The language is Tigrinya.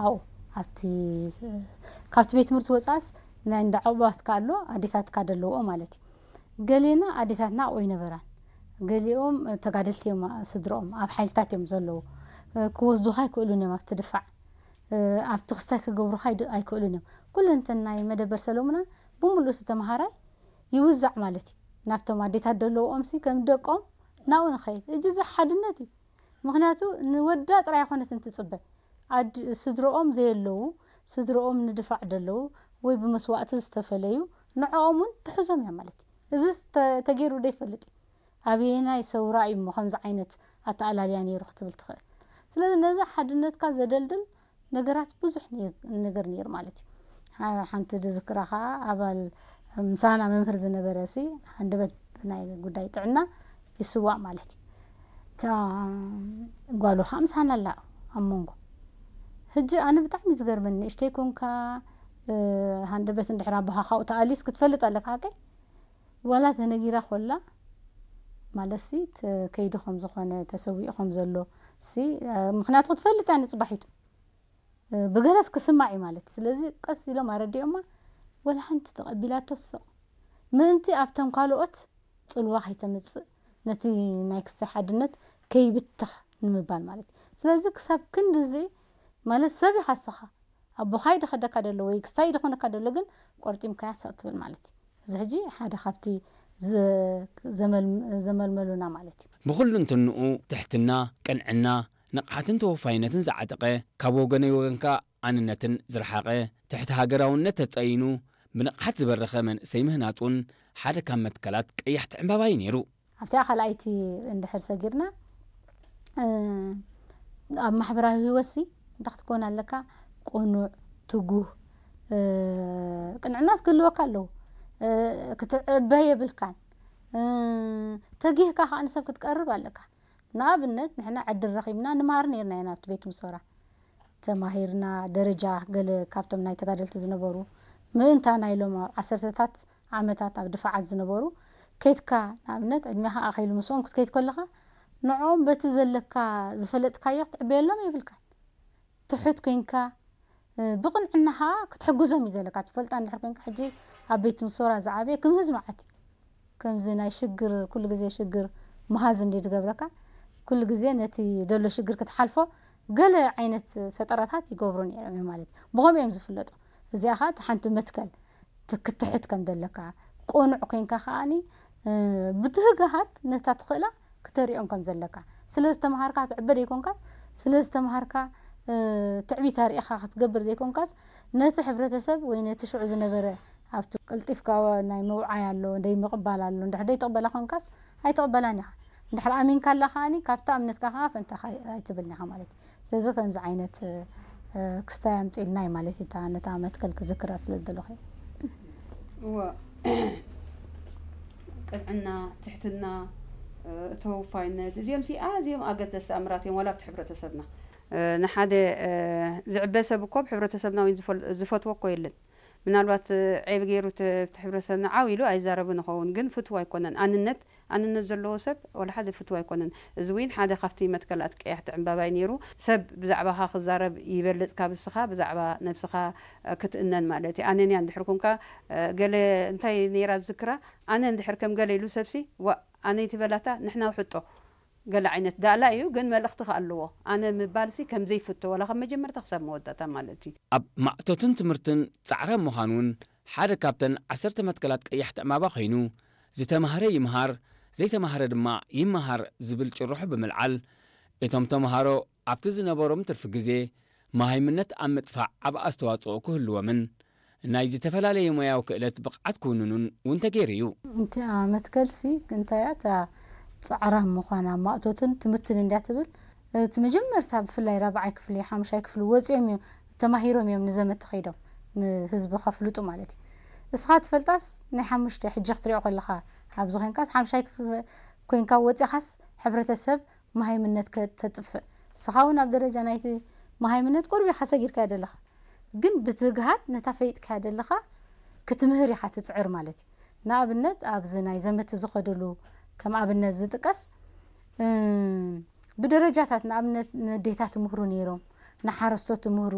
ኣብኡ ኣብቲ ካብቲ ቤት ትምህርቲ ወፃእስ ናይ እንዳ ዕቑባትካ ኣሎ፣ ኣዴታትካ ዘለውኦ ማለት እዩ። ገሌና ኣዴታትና ኣብኡ ኣይነበራን። ገሊኦም ተጋደልቲ እዮም፣ ስድሮኦም ኣብ ሓይልታት እዮም ዘለዉ። ክወስዱኻ ኣይክእሉን እዮም፣ ኣብቲ ድፋዕ ኣብቲ ክስታይ ክገብሩኻ ኣይድ- ኣይክእሉን እዮም። ኩለንተን ናይ መደበር ሰሎሙና ብምሉእ እቲ ተምሃራይ ይውዛዕ ማለት እዩ። ናብቶም ኣዴታት ዘለውኦምሲ ከም ደቆም ናብኡ ንኸይድ። እጅ እዚ ሓድነት እዩ። ምኽንያቱ ንወዳ ጥራይ ኣይኮነትን ትጽበ። ኣድ- ስድሮኦም ዘየለዉ፣ ስድሮኦም ንድፋዕ ደለዉ ወይ ብመስዋእቲ ዝተፈለዩ ንዕኦም እውን ትሕዞም እያ ማለት እዩ። እዚስ ተ- ተገይሩ ዶ ይፈልጥ እዩ? ኣበየናይ ሰውራ እዩ እሞ ከምዚ ዓይነት ኣተኣላልያ ነይሩ ክትብል ትኽእል? ስለዚ ነዚ ሓድነትካ ዘደልድል ነገራት ብዙሕ ነ- ነገር ነይሩ ማለት እዩ። ሓ- ሓንቲ ዝዝክራ ከዓ ኣባል ምሳና መምህር ዝነበረ ሲ ሃንደበት ናይ ጉዳይ ጥዕና ይስዋእ ማለት እዩ። እታ ጓሉ ከዓ ምሳና ኣላ ኣብ መንጎ። ሕጂ ኣነ ብጣዕሚ ዝገርመኒ ንእሽተይ ኮንካ ሃንደበት እንድሕር ኣቦኻ ካብኡ ተኣልዩስ ክትፈልጥ ኣለካ ሓቀይ ዋላ ተነጊራ ኮላ ማለት ሲ ከይዱ ከም ዝኾነ ተሰዊኡ ከም ዘሎ ሲ ምክንያቱ ክትፈልጥ እያ ንፅባሒቱ ብገለስ ክስማዕ እዩ ማለት እዩ። ስለዚ ቀስ ኢሎም ኣረዲኦማ ወላ ሓንቲ ተቐቢላቶ ስቕ ምእንቲ ኣብቶም ካልኦት ፅልዋ ከይተምፅእ ነቲ ናይ ክስታይ ሓድነት ከይብተኽ ንምባል ማለት እዩ። ስለዚ ክሳብ ክንድዚ ማለት ሰብ ኢኻ ስኻ ኣቦኻ ይድኸደካ ደሎ ወይ ክስታይ ይድኾነካ ደሎ ግን ቆርጢምካያ ስቕ ትብል ማለት እዩ። እዚ ሕጂ ሓደ ካብቲ ዘመልመሉና ማለት እዩ። ብኹሉ እንትንኡ ትሕትና፣ ቅንዕና፣ ንቕሓትን ተወፋይነትን ዝዓጠቐ፣ ካብ ወገነይ ወገንካ ኣንነትን ዝረሓቐ፣ ትሕቲ ሃገራውነት ተጸይኑ ብንቕሓት ዝበረኸ መንእሰይ ምህናጹን ሓደ ካብ መትከላት ቀያሕቲ ዕምባባ እዩ ነይሩ። ኣብቲኣ ካልኣይቲ እንድሕር ሰጊርና ኣብ ማሕበራዊ ህይወትሲ እንታይ ክትከውን ኣለካ? ቅኑዕ፣ ትጉህ፣ ቅንዕናስ ክህልወካ ኣለዎ። ክትዕበ የብልካን። ተጊህካ ከዓ ንሰብ ክትቀርብ ኣለካ። ንኣብነት ንሕና ዕድል ረኺብና ንመሃር ነይርና ኢና ኣብቲ ቤት ምሶራ ተማሂርና ደረጃ ገለ ካብቶም ናይ ተጋደልቲ ዝነበሩ ምእንታና ኢሎም ኣብ ዓሰርተታት ዓመታት ኣብ ድፋዓት ዝነበሩ ከይትካ ንኣብነት ዕድሜኻ ኣኸይሉ ምስኦም ክትከይድ ከለኻ ንዕኦም በቲ ዘለካ ዝፈለጥካዮ ክትዕበየሎም የብልካን። ትሑት ኮይንካ ብቕንዕና ከዓ ክትሕግዞም እዩ ዘለካ። ትፈልጣ እንድሕር ኮይንካ ሕጂ ኣብ ቤት ምሶራ ዝዓበየ ክምህዝ መዓት እዩ። ከምዚ ናይ ሽግር ኩሉ ግዜ ሽግር ምሃዝ እንዲ ዝገብረካ ኩሉ ግዜ ነቲ ደሎ ሽግር ክትሓልፎ ገለ ዓይነት ፈጠራታት ይገብሩ ነይሮም እዮም ማለት እዩ። ብኸምኡ እዮም ዝፍለጡ። እዚኣ ከዓ እቲ ሓንቲ መትከል ክትሕት ከም ዘለካ ቁኑዕ ኮይንካ ከዓኒ ብትህግሃት ነታ ትኽእላ ክተሪኦም ከም ዘለካ ስለ ዝተምሃርካ ትዕበ ዘይኮንካ ስለ ዝተምሃርካ ትዕቢት ኣሪእኻ ክትገብር ዘይኮንካስ ነቲ ሕብረተሰብ ወይ ነቲ ሽዑ ዝነበረ ኣብቲ ቀልጢፍካ ናይ ምውዓይ ኣሎ ደይ ምቕባል ኣሎ እንድሕር ደይ ትቕበላ ኮንካስ ኣይትቕበላን ኢኻ እንድሕር ኣሚንካ ኣላ ከዓኒ ካብታ እምነትካ ከዓ ፈንታኻ ኣይትብልን ኢኻ ማለት እዩ ስለዚ ከምዚ ዓይነት ክስታይ ኣምፂእልና እዩ ማለት እዩ ነታ መትከል ክዝክራ ስለ ዝደለኹ እወ ቅንዕና ትሕትና ተወፋይነት እዚኦም ሲ ኣዝዮም ኣገደስቲ ኣምራት እዮም ዋላ ኣብቲ ሕብረተሰብና ንሓደ ዝዕበ ሰብ እኮ ኣብ ሕብረተሰብና እውን ዝፈትዎ እኮ የለን ምናልባት ዔብ ገይሩ እቲ ሕብረተሰብና ዓው ኢሉ ኣይዛረብን ይኸውን ግን ፍትው ኣይኮነን ኣንነት ኣንነት ዘለዎ ሰብ ዋላ ሓደ ፍትው ኣይኮነን እዚ እውን ሓደ ካብቲ መትከላት ቀያሕቲ ዕምባባይ ነይሩ ሰብ ብዛዕባኻ ክዛረብ ይበልፅ ካብ እስኻ ብዛዕባ ነብስኻ ክትእነን ማለት እዩ ኣነንያ እንድሕር ኮንካ ገለ እንታይ ነይራ ዝዝክራ ኣነ እንድሕር ከም ገለ ኢሉ ሰብሲ ዋእ ኣነ ይትበላታ ንሕና ውሕጦ ገለ ዓይነት ዳእላ እዩ ግን መልእኽቲ ከ ኣለዎ ኣነ ምባልሲ ከም ዘይፍቶ ዋላ ካብ መጀመርታ ክሳብ መወዳእታ ማለት እዩ ኣብ ማእቶትን ትምህርትን ፃዕራም ምዃን እውን ሓደ ካብተን ዓሰርተ መትከላት ቀያሕቲ ዕማባ ኮይኑ ዝተማህረ ይምሃር ዘይተማህረ ድማ ይመሃር ዝብል ጭርሖ ብምልዓል እቶም ተምሃሮ ኣብቲ ዝነበሮም ትርፊ ግዜ መሃይምነት ኣብ ምጥፋእ ዓቢ ኣስተዋጽኦ ክህልዎምን ናይ ዝተፈላለየ ሞያዊ ክእለት ብቕዓት ክውንኑን እውን ተገይሩ እዩ። እቲኣ መትከልሲ እንታይ እያ እታ ጻዕራም ምዃና ማእቶትን ትምህርትን እንድያ ትብል እቲ መጀመርታ ብፍላይ ራብዓይ ክፍሊ ሓሙሻይ ክፍሊ ወፂኦም እዮም ተማሂሮም እዮም ንዘመት ከይዶም ንህዝቢ ከፍልጡ ማለት እዩ። እስኻ ትፈልጣስ ናይ ሓሙሽተ ሕጂ ክትሪኦ ከለኻ ኣብዚ ኮንካስ ሓሙሻይ ክፍሊ ኮንካ ወፂኻስ ሕብረተሰብ መሃይምነት ከተጥፍእ ንስኻ እውን ኣብ ደረጃ ናይቲ መሃይምነት ቁሩብ ኢኻ ሰጊርካዮ ዘለኻ ግን ብትግሃት ነታ ፈይጥካያ ዘለኻ ክትምህር ኢኻ ትፅዕር ማለት እዩ ንኣብነት ኣብዚ ናይ ዘመቲ ዝኸድሉ ከም ኣብነት ዝጥቀስ ብደረጃታት ንኣብነት ነዴታት ይምህሩ ነይሮም ንሓረስቶት ይምህሩ